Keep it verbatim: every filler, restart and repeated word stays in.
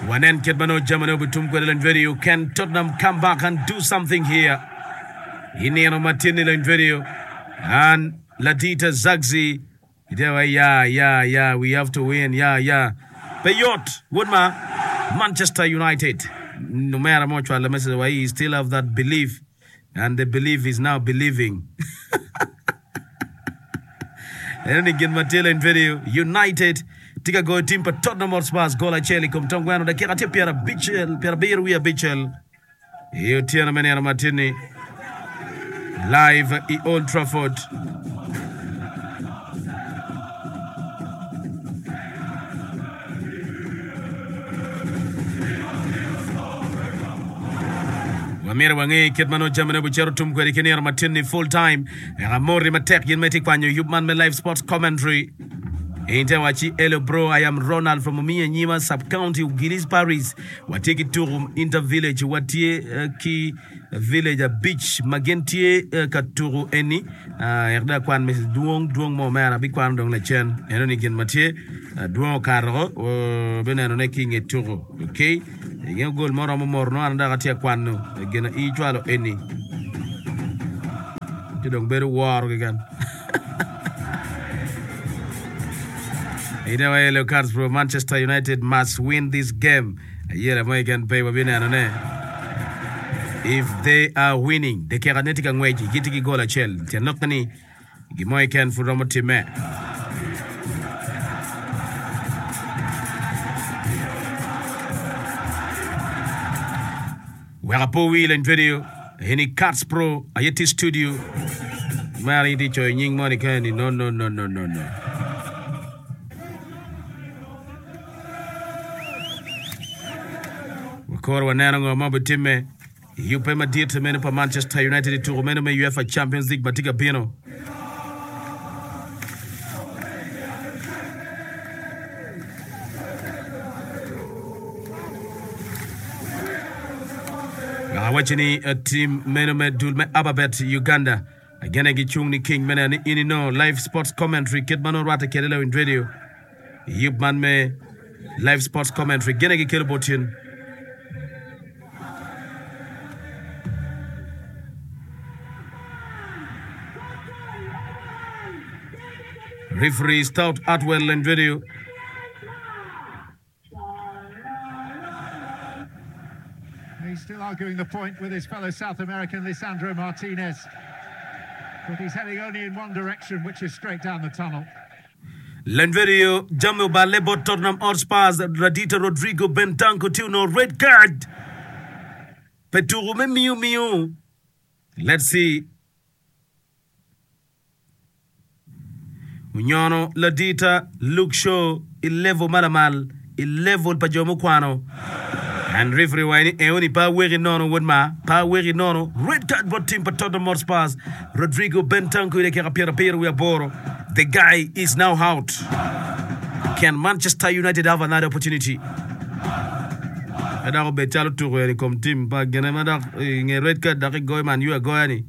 Wanen kit ma nongo jamine obitum kwede lony radio. Can Tottenham come back and do something here? I nino ma tye ni lony radio. And Ladita Zagzi itye wa ya ya ya we have to win ya ya. Pe yot wod ma Manchester United. Omera mo ocwalo message wa he still have that belief and the belief is now believing. Eno ni gin ma tye leny video United tye ka goyo tim pa Tottenham Hotspurs gol acel i kom tong gweno dakika tye pyerabicel pyerabiro wiye abicel i otyeno me nino matin-ni live i Old Trafford. Wamyero wange kit ma nongo jamine obicito tum kwede ki nino matin-ni full time. Eka amoti matek gin ma itye kwanyo yub man me live sports commentary. In te wacci hello bro I am Ronald from Omiya Nyima sub county Ugilis Paris. Watye ki tuku inter village watye ki village abic ma gin tye ka tuku eni. Ek dong akwan message dwong dwong mo omera abikwano dong lacen. Eno ni gin ma tye dwong okato bineno ne ki inge tuku. Okay. Inge gol mo romo moro nongo an dok atye ka kwano gin a icwalo eni ci dong bedo woro keken. Ine wa yellow cards bro Manchester United must win this game. Ayela mo keken pe wabineno ne. If they are winning, dakika ne tye ka ngwec gitye ki gol acel. Tyen lokke ni Gin mo keken pud romo timme. Wek apo wi leny video eni Cats Pro aye tye studio mere in tye coyo nying moni kene ni no no no no no no. Wakoro waneno ngo ma obitimme. I yubbe madit meno pa Manchester United i tuko meno me UEFA Champions League ma tye ka bino, Dok awacci ni tim meno me dul me Ababet Uganda agene gicung ni king me neno ni in inongo live sports commentary kit ma nongo rwatte kwede Lewin Radio. Yub man me Live Sports Commentary gine gikelo bot in. Referee Stout Atwell and video. He's still arguing the point with his fellow South American Lisandro Martinez. But he's heading only in one direction, which is straight down the tunnel. Lanverio jami oballe bot Tottenham Hotspurs Radita Rodrigo Bentancur tye onongo red card pe tuku me miyo miyo. Let's see. Onyono ladita Luke Shaw i level ma lamal i level pa jo mukwano. And referee waco ni eoni pe aweki nono wod ma, pe aweki nono. Red card bot team pa Tottenham Hotspurs. Rodrigo Bentancur i dakika pyerabiro wiye aboro. The guy is now out. Can Manchester United have another opportunity? Pe dok obed calo tuko eni i kom team pa gine ma dok i nge red card dok igoyo Man U agoya ni.